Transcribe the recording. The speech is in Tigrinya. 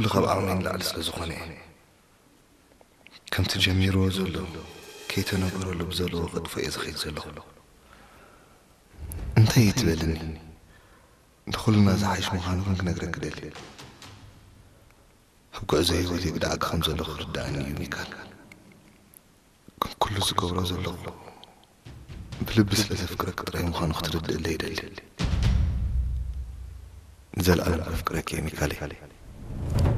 ኩሉ ካብ ዓቕመይ ንላዕሊ ስለ ዝኾነ እየ። ከምቲ ጀሚርዎ ዘሎ ከይተነገረሉ ብዘለዎ ከጥፎ እየ ዝኸይድ ዘለኹ። እንታይ እዩ ትበልኒ? ንኹልና ዝሓይሽ ምዃኑ ግን ክነግረክ እደሊ። ኣብ ጉዕዞ ህይወተይ ብደዓኪ ከም ዘለኹ ክርድኣኒ እዩ ሚካል። ግን ኩሉ ዝገብሮ ዘለኹ ብልቢ ስለ ዘፍቅረክ ጥራይ ምዃኑ ክትርድእለይ ይደሊ። ንዘለኣለም ከፍቅረክ እየ ሚካለይ።